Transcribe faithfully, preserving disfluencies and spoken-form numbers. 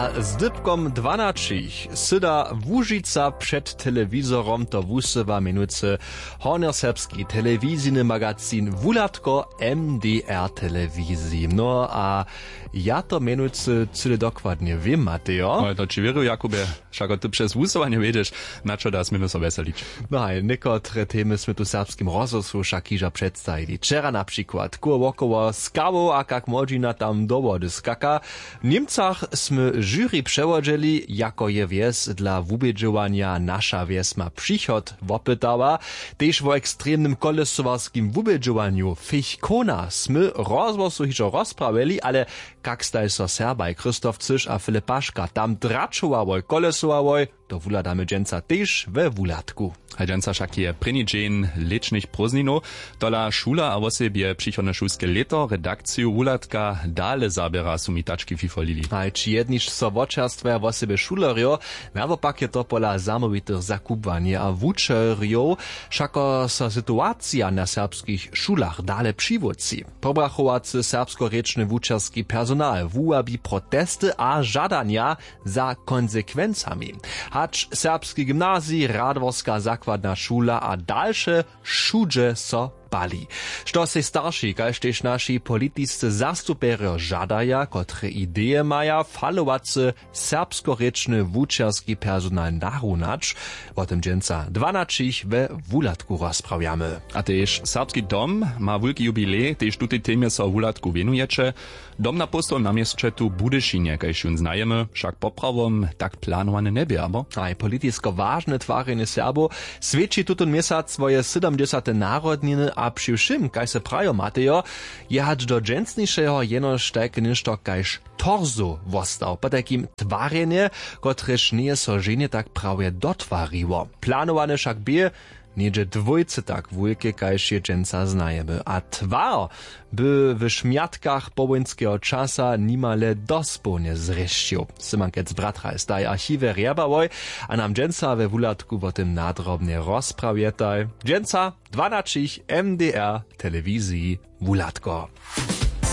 A z dypkom dwanaćich syda Łužica před telewizorom to wusyła měnujcy hornjoserbski telewizijny magazin Wuhladko M D R telewiziji. No a ja to měnujcy cyle dokładnje wěm, Matejo. No, to ći wěruju, Jakubje. Wšako ty přez wusyłanje wědźeš, na čo da směmy so wjeselić. No haj, někotre temy smy tu w serbskim rozhłosu wšak hižo předstajili. Wčera na přikład kóło wokoło skałow a kak młodźina tam do wody skaka. W Němcach smy jury přewodźeli, jako je wjes dla wubědźowanja Naša wjes ma přichod wopytała. Tež wo ekstremnym kolesowarskim wubědźowanju Fichkona smy w rozhłosu hižo rozprawjeli, ale kak staj so Serbaj Christoph Cyš a Filip Paška tam dračowałoj, kolesowałoj, to wuhladamy dźensa tež we Wuhladku. A dźensa wšak je prěni dźeń lěćnych prózdninow. Tola šula a wosebje přichodne šulske lěto redakciju Wuhladka dale zaběra, su mi tački fifolili. Haj, ći jedniž so wočerstwaja wosebje šulerjo, nawopak je to pola zamołwitych zakubłanje a wučerjow, wšako so situacija na serbskich šulach dale přiwótři. Pobrachowacy serbskorěčny wučerski personal wuwabi protesty a žadanja za konsekwencami. Hač serbski gymnazij, radworska zakładna šula a dalše wšudźe so pali. Što sej starši kaž tež naši politiscy zastupjerjo žadaja, kotre ideje maja falowacy serbskorěčny wučerski personal narunać, wo tym dźensa dwanaćich we Wuhladku rozprawjamy. A tež serbski dom ma wulki jubilej, tež tutej temje so w Wuhladku wěnujeće. Dom na postołowym na měsće tu w Budyšinje, kaž jón znajemy, wšak poprawom tak planowany njebě, abo? Haj, politisko wažne twarjenje Serbow swjeći tutón měsac swoje sydomdźesate narodniny a při wšěm, kaž se prajo, Matejo, je hač do dźensnišeho jenož tajke něšto kaž torzow wostał. Potajkim twarjenje, kotrež njeje so ženje tak prawje dotwariło. Planowany wšak bě něhdźe dwójce tak wulke, kaž je dźensa znajemy. A twar by w šmjatkach powojnskeho časa nimale dospołnje zrěšćił. Symankec Bratraj staj w archiwje rjebałoj a nam dźensa we Wuhladku wo tym nadrobnje rozprawjetaj. Dźensa dwanaćich M D R telewiziji Wuhladko.